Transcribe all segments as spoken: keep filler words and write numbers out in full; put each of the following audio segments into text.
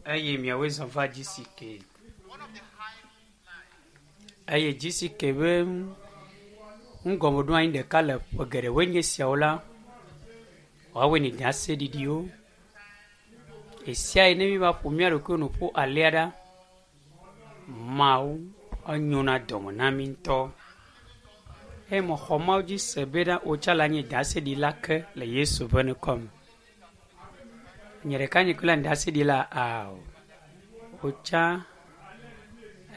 Eye miawoe zɔ va G C K. Eye G C K be ŋgɔmeɖoanyi ɖeka le ƒe geɖewoe nye esiawo la, woawoe nye ɖaseɖiɖiwo. Ɣesiaɣi ne míeva ƒo mía ɖokuiwo nu ƒu alea ɖa, Mawu enyona dɔme na mí ŋutɔ. Eye mexɔ Mawu dzi se bena wotsa le anyi ɖaseɖila ke le Yesu ƒe ŋkɔ me. Nye ɖeka nye koe le anyi ɖaseɖila ao. Wotsa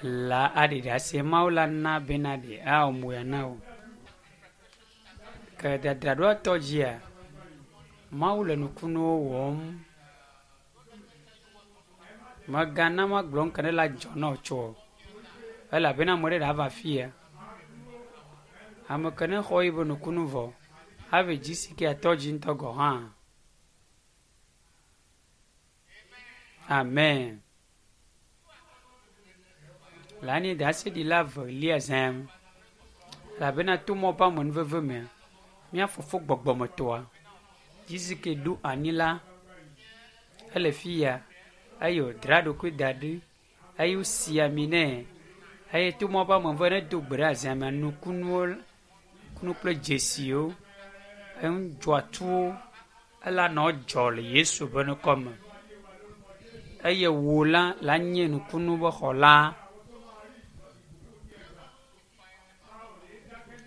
la aɖi ɖase Mawu la na bena ɖe awɔ moya na wò. Ke dzadzraɖoa tɔ dzia, Mawu le nukunuwo wɔm. Mègana magblɔ nu ke ne la dzɔ na wò tsɔ o. Elabena ame ɖe ɖe ava afia. Ame ke ne xɔ yiƒe nukunu vɔ hafi G C K atɔ dzi ŋutɔ gɔ hã. Amen. Le anyi ɖaseɖila velia zãm. Elabena to mɔ ƒe amenuveve mea, mía fofo gbɔgbɔmetɔa, G C K ɖo anyi la, ele fi ya eye wòdra ɖokui da ɖi eye wosi ami nɛ eye to mɔ ƒe amenuveve ne do gbe ɖe azãmea nukunuwo nukunu kple dzesiwo enudzɔatsuwo ela nɔ dzɔ le Yesu ƒe ŋkɔ me. Eye wò la la nye nukunu ƒe xɔla.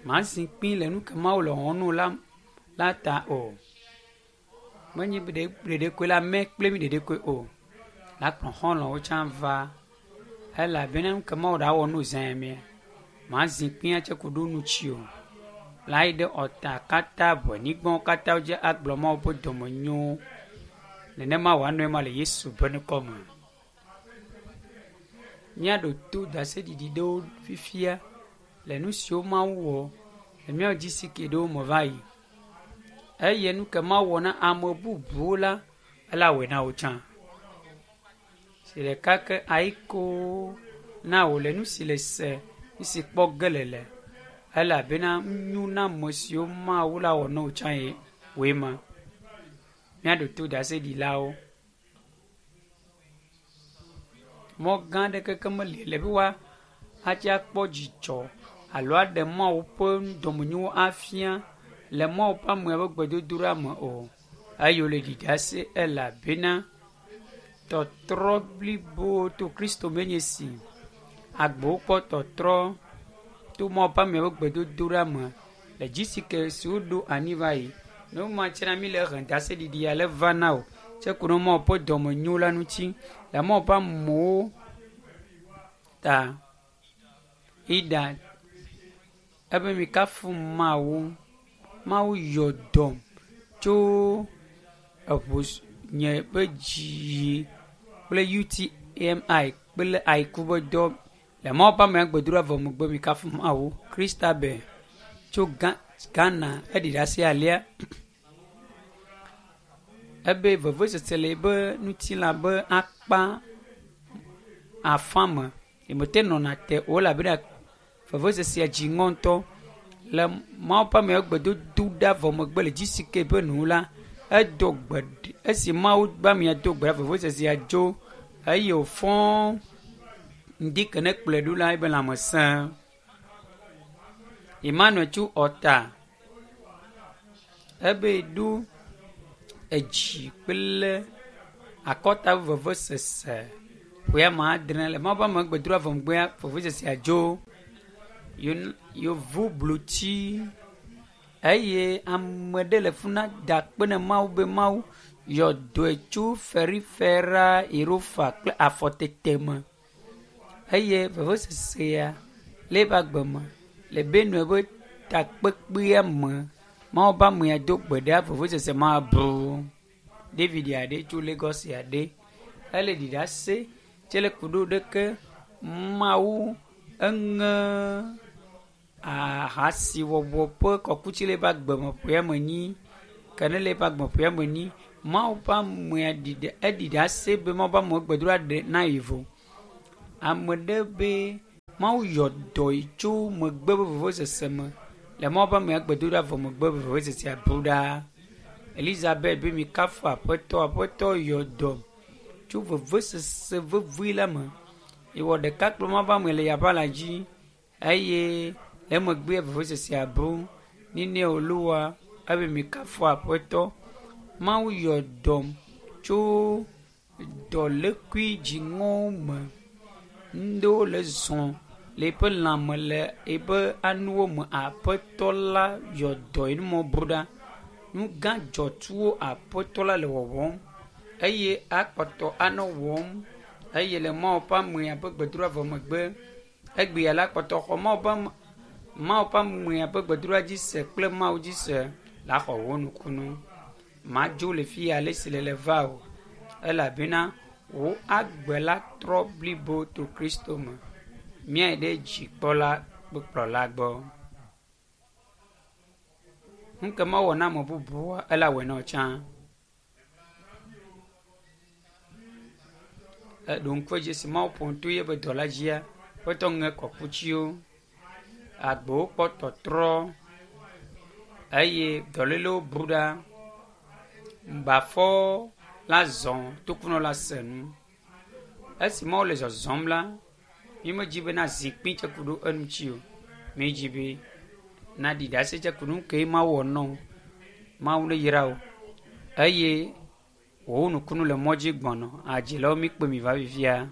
Màzi kpi le nu ke Mawu le wɔm nɛ la la ta o. Menye be ɖeɖe koe la mɛ kple mi ɖeɖe koe o. La kplɔ xɔlɔ̃wo tsã va elabena nu ke Mawu ɖa wɔ nu zã mea, màzi kpi atse ku ɖo nutsi o. La yi ɖe ɔta katã ʋenyigbawo katã dzi agblɔ Mawu ƒe dɔmenyo. Nenema wòanɔe ma le Yesu ƒe ŋkɔ me. Míaɖo to ɖaseɖiɖi ɖewo fifia le nu siwo Mawu wɔ le míawo G C K ɖewo me va yi. Eye nu ke Mawu wɔ na ame bubuwo la, ela wɔe na wò tsã. Si ɖeka ke ayiko na wò le nu si le se, nu si kpɔ ge le le elabena nyo na ame siwo Mawu la wɔ na wò tsã ye wòe ma. Míaɖo to ɖaseɖilawo. Mɔ gã aɖe keke meli le be woa atsi akpɔ dzidzɔ alo aɖe Mawu ƒe dɔmenyowo afia le Mawu ƒe amea ƒe gbedodoɖa me o. Eye wòle ɖi ɖase elabena tɔtrɔ blibo to Kristo me nye si. Agbewo kpɔ tɔtrɔ to Mawu ƒe amea ƒe gbedodoɖa me le G C K si woɖo anyi va yi. Ne womatsina mi le he ɖaseɖiɖi ale va na o. Tse ku ɖe Mawu ƒe dɔmenyo la ŋuti le Mawu ƒe amewo ta. Ida ebe mikafu Mawu. Mawu yɔ dɔm tso eʋu nye ƒe dzi kple U T M I kple ayiku ƒe dɔ le Mawu ƒe amea gbedoɖa vɔ megbe mikafu Mawu. Christabel tso Ghana eɖi ɖase alea. Ebe vevesese le ebe ŋutilã be akpa afã me. Yemete nɔna te o elabena vevesesea dzi ŋɔ ŋutɔ. Le Mawu ƒe amea gbedodo ɖa vɔ megbe le G C K ƒe nu la, edo gbe esi Mawu ƒe amea do gbe ɖa vevesesea dzo eye wòfɔ ŋdi ke ne kplɔe ɖo la ebe lãme sẽ. Emmanuel tso Ɔta ebe ɖo edzi kple akɔta vevesese ƒe ame adre le Mawu ƒe ame gbedoɖa vɔ megbea vevesesea dzo. Yevu blotsi eye ame ɖe le fi na da akpe na Mawu be Mawu yɔ dɔe tso ferifera erofa kple afɔtete me eye vevesesea le eƒe agbe me le Benue ƒe takpekpea me Mawu ƒe amea do gbe ɖa vevesese ma bu. David aɖe tso Lagos aɖe ele ɖi ɖase tse le ku ɖo ɖeke Mawu eŋe ahasiwɔwɔ ƒe kɔkuti le eƒe agbe me ƒe ame enyi ke ne le eƒe agbe ƒe ame enyi Mawu ƒe amea ɖi ɖe eɖi ɖase be Mawu ƒe amewo gbedoɖa ɖe na yi vɔ. Ame ɖe be Mawu yɔ dɔ yi tso megbe ƒe vevesese me le Mawu ƒe amea gbedoɖa vɔ megbe ƒe vevesesea bu ɖa. Elizabeth be mikafu Aƒetɔ, Aƒetɔ yɔ dɔ tso vevesese vevi la me. Ewɔ ɖeka kple Mawu ƒe ame le yaƒe la dzi eye le emegbea vevesesea bu. Nene wòluwa ebe mikafu aƒetɔ. Mawu yɔ dɔm tso dɔlékui dziŋɔwo me. Ŋɖewo le zɔ le eƒe lãme le eƒe anuwo me. Aƒetɔ la yɔ dɔ eye numɔwo bu ɖa. Nu gã dzɔtsuwo aƒetɔ la le wɔwɔm eye akpɔtɔ anɔ wɔm eye le Mawu ƒe amea ƒe gbedoɖa vɔ megbe egbea la kpɔtɔ xɔ Mawu ƒe ame Mawu ƒe amea ƒe gbedoɖa dzi se kple Mawu dzi se la xɔ wò nukunu. Madzo le fi ya ale si le le va o elabena wò agbe la trɔ blibo to Kristo me. Míayi ɖe dzikpɔla kple kplɔla gbɔ. Nu ke mewɔ na ame bubuwoa, ela wɔe na wò tsã. Eɖo ŋku edzi esi Mawu ƒo nu to yeƒe dɔla dzia, ƒetɔ ŋe kɔkutsiwo, agbewo kpɔ tɔtrɔ eye dɔlélewo bu ɖa. Bafɔwo la zɔ, tokunɔ la se nu. Esi Mawu le zɔzɔm la, mímedzi be na zikpui tse ku ɖo eŋuti o. Míedzi be naɖi ɖase tse ku ɖo nu ke Mawu wɔ nɔ wo. Mawu ne yra wò eye wò nukunu le mɔ dzi gbɔnɔ. Adzilawo míkpe mi va fifia.